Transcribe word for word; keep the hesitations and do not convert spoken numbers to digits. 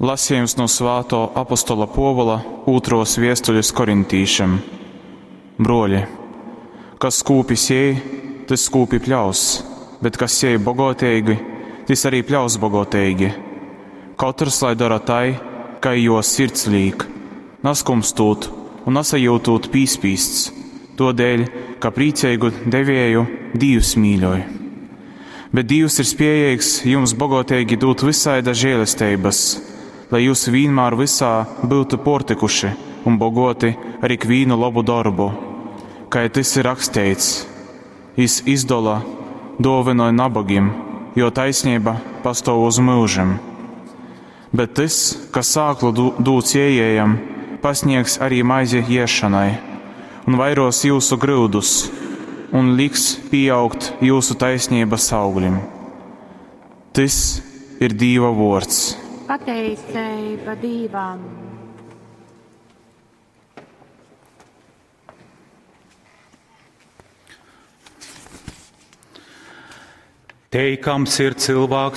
Lasījums no svātō apostola Pōvula ūtrōs viestulis korintīšim. Bruoļi, kas skūpi siej, tys skūpi pļaus, bet kas siej bogoteigi, tys arī pļaus bogoteigi. Kotrs lai dora tai, kai juo sirds līk, naskumstūt un nasajyutūt pīspīsts, tuodēļ, ka prīceigu devieju Dīvs mīļoj. Bet Dīvs ir spiejeigs jums bogoteigi dūt vysaida žēlesteibas, lai jyus vīnmār vysā byutu pōrtykuši un bogōti ar ikvīnu lobu dorbu, kai tys ir raksteits: Jys izdola, dōvynoj nabogim, jō taisneiba pastōv uz myužim. Bet tys, kas sāklu dūd siejējam, pasniegs arī maizi iesšonai un vairos jyusu gryudus un liks pīaugt jyusu taisneibas auglim. Tys ir Dīva vōrds. Pateiceiba Dīvam. Teikams ir cylvāks